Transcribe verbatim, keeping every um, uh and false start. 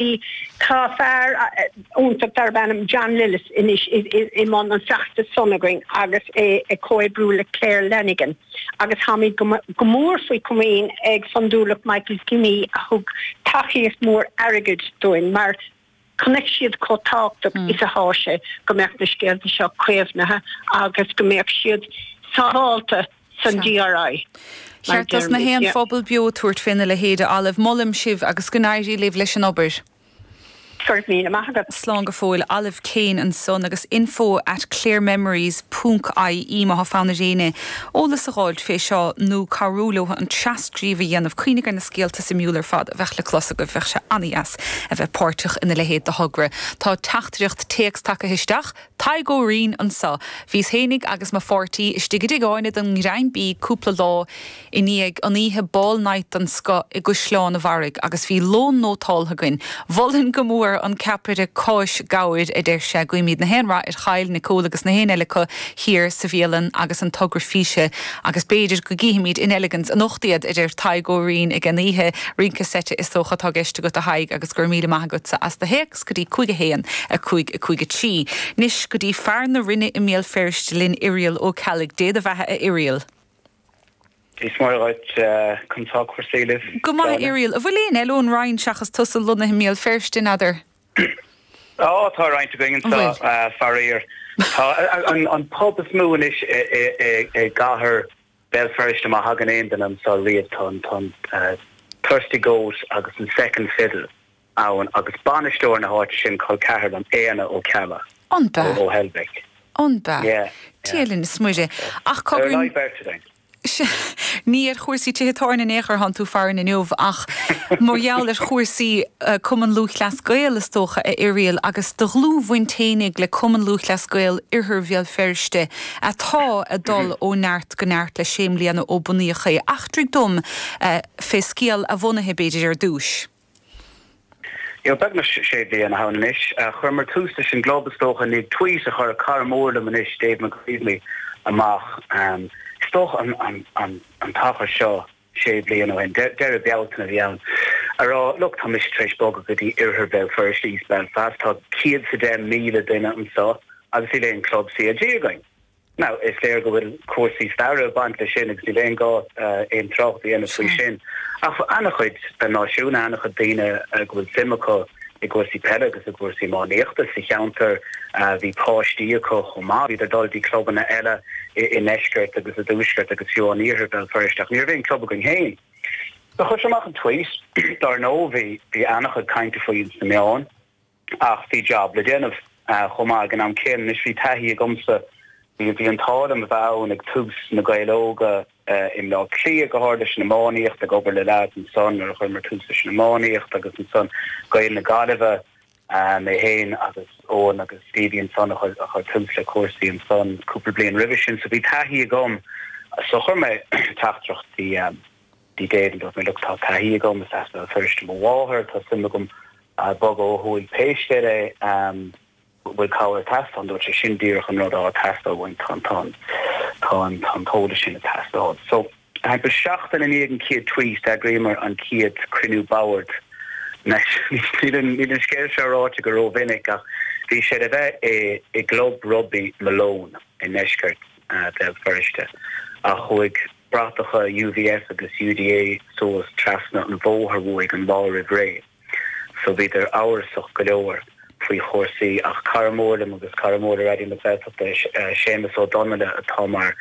Tá fear iontach darb ainm John Lillis anois i mbun an feachtas san againn agus é ag comhoibriú le Claire Lanigan. Agus táimid go mór faoi chomaoin ag Fondúireacht Michael Jimmy a thug tacaíocht mór airgid dúinn mar chonaic siad chomh tábhachtach mm. is atá sé go mbeadh na scéalta seo caomhnaithe agus go mbeadh siad sábháilte san D R I. Ceart na haon phobal beo tabhairt féna leithéid Olive, molaim sibh agus go n-éirí libh leis an obair. Míle maith agat. Slán go fóill. Olive Kane ansan agus info at clearmemories ponc I E má fonn ar éinne eolas a fháil fé seo nó cabhrú leo an tras-scríobh a dhéanamh. Cuimhnigh ar na scéalta suimiúla ar fad a bheith le clos go bheadh sé an-deas a bheith páirteach ina leithéid de thogra. Tá teachtaireacht téacs tagtha isteach, Tadhg Ó Rinn anseo. Bhíos féinig agus mo pháirtí istigh i dtigh Áine don ghreim bídh cúpla lá i ndiaidh an oíche ball night den scoth i gCaisleán an Bharraigh agus bhí lón nótáltha againn. Mholfainn go mór an ceapaire cáis gabhair, a deir sé. Guímid na haon rath ar chail Nicole agus na haon eile acu thiar sa bhialann agus an togra físe agus b'fhéidir go gcífimid in Elegans anocht iad, a deir Tadhg Ó Rinn ag an oíche rince seite is dócha atá i gceist agat, a Thaidhg, agus gur míle maith agatsa as do théacs go dtí cúig a haon a cúig a cúig a trí. Anois go dtí fear na Rinne i mBéal Feirste linn, Irial Ó Ceallaigh. Dé do bheatha, a Irial. Is mar chun tá chuirsaílah. Go maith, Irial, a bhfuil aon eile ón Rinn seachas tusa lonnaithe i mBéal Feirste n'fheadar? Á, tá roinnt againn faraor. An pub is mó anois i gcathair Béal Feirste má thagann aon duine anseo riamh, tá Thirsty Goat agus an Second Fiddle ann agus bainisteoir na háite sin col ceathar liom, Éanna Ó Ceallaigh. An ea? Ó Heilbhic. An ea? Dia linn is Muire ach cogar. Ní ar chúrsaí tithe tábhairne in aon chor atánn tú farainn inniu ach mar gheall ar chúrsaí Cumann Lúthchleas Gael is dócha, a Irial, agus do dhlúthbhaint fhéinig le Cumann Lúthchleas Gael Oirthear Bhéal Feirste atá ag dul ó neart go neart le sé bliana ó bunaíodh é. Eachtraigh dom fé scéal a bhunaithe b'fhéidir ar dtús. Jo beagnach sé bliana ann anois. Chuireamar tús leis an gclub is dócha ní tweet a chuir cara mór liom anois, Dave McGreevy, amach is dócha an an an t-achar seo sé bliana ó shin, deireadh Bealtaine a bhí ann, a rá, "Look, tá mise tar éis bogadh go dtí oirthear Bhéal Feirste, East Belfast, tá céad sa deich míle duine anseo agus níl aon club C L G againn." Now is léir go bhfuil cúrsaí staire ag baint leis sin agus níl aon gá aon trácht a dhéanamh faoi sin. Ach an-chuid den náisiún, an-chuid daoine go bhfuil suim acu i gcúrsaí peile agus i gcúrsaí iománaíochta sa cheantar, bhí páistí acu chomh maith, bhíodar ag dul dtí clubanna eile i ndeisceart agus i dtuaisceart agus fiú in iarthar Bhéal Feirste, ach ní raibh aon club againn féin. So chuir sé amach an tweet, dar ndóigh bhí bhí an-chuid cainte faoi sna meáin ach bhí job le déanamh chomh maith ag an am céanna. Anois bhí taithí agamsa, bhí bhí an t-ádh liom a bheith ann ag tús na Gaeil Óga i mBleá Cliath, go háirithe leis an iománaíocht, ag obair le lads ansan nuair a chuireamar tús leis an iománaíocht agus ansan Gaeil na Gaillimhe, mé féin agus Eoin agus Stevie ansan a chuir tús le cúrsaí ansan cúpla bliain roimhe sin, so bhí taithí agam. So chuir mé teachtaireacht dtí dtí Dave and dúirt mé, "Look, tá taithí agam, is as Béal Feirste mo mháthair, tá suim agam bogadh ó thuaidh pé scéal é, bhfuil cabhair ag teastáil?" Dúirt sé, "Sin díreach an rud atá ag teastáil uainn, tá tá tá an tá an t-eolas sin ag teastáil." So timpeall seachtain i ndiaidh an chéad tweet d'eagraíomar an chéad cruinniú boird. Níl an scéal seo ráite go rómhinic ach bhí sé le bheith i i gclub rugbaí Malone i ndeisceart Bhéal Feirste ach chuaigh bratacha U V F agus U D A suas trasna an bhóthair uaidh an lá roimh ré. So bhíodar amhrasach go leor faoi chúrsaí ach cara mór liom agus cara mór le Raidió na Gaeltachta, Séamus Ó Donnaile, atá mar